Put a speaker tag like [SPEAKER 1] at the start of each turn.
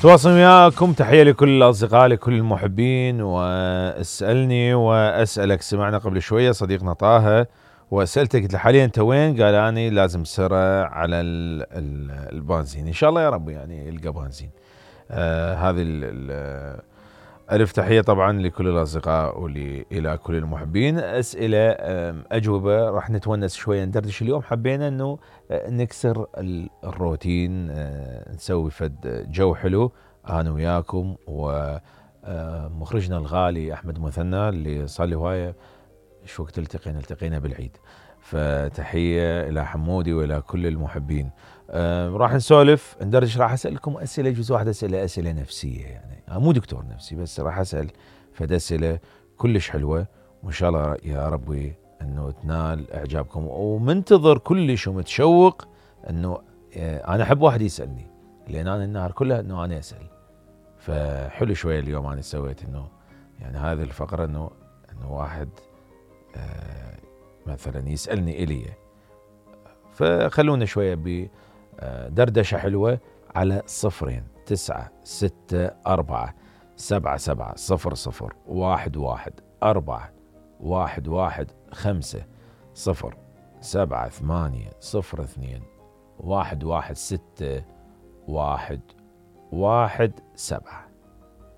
[SPEAKER 1] تواصل وياكم. تحية لكل الأصدقاء لكل المحبين. واسألني وأسألك. سمعنا قبل شوية صديقنا طه وسألته قلت له حاليا أنت وين؟ قال أنا لازم سرة على البنزين. إن شاء الله يا رب يعني يلقى بنزين. هذه ألف تحية طبعا لكل الأصدقاء وإلى كل المحبين. أسئلة أجوبة راح نتونس شوية ندردش اليوم. حبينا أنه نكسر الروتين، نسوي فد جو حلو أنا وياكم ومخرجنا الغالي أحمد مثنى اللي صار لي هواية شو وقت التقينا بالعيد. فتحية إلى حمودي وإلى كل المحبين. راح نسولف ندردش. راح أسألكم أسئلة جزء واحد أسئلة نفسية، يعني مو دكتور نفسي بس راح أسأل فد أسئلة كلش حلوة وإن شاء الله يا ربي أنه تنال إعجابكم. ومنتظر كلش ومتشوق أنه أنا أحب واحد يسألني لأن أنا النهار كله أنه أنا أسأل. فحلو شوية اليوم أنا سويت أنه يعني هذه الفقرة أنه واحد مثلا يسألني إلي. فخلونا شوية بدردشة حلوة على 0 9 6 4 7 7 0 0 1 1 5 0 7 8 0 2 1 1 6 1 1 7.